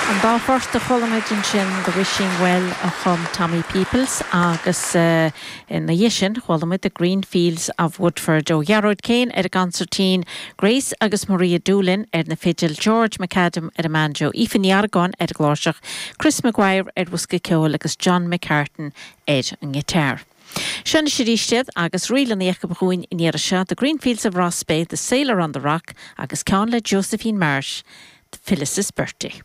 An dá phort a chuala muid ansin, The Wishing Well a chum Tommy Peoples agus ina dhiaidh sin chuala muid The Green Fields of Woodford ó Ghearóid Kane ar an gconsairtín, Grace agus Maria Doolin ar na fidil, George McAdam ar an mbanjo, Aoife Ní Argáin ar an gcláirseach, Chris Maguire ar bhosca ceoil agus John McCartan ar an ngiotár. Seo anois arís iad agus ríleanna acu dhúinn an iarraidh seo, The Green Fields of Rossbeigh, The Sailor on the Rock agus ceann le Josephine Marsh, Phyllis is Bertie.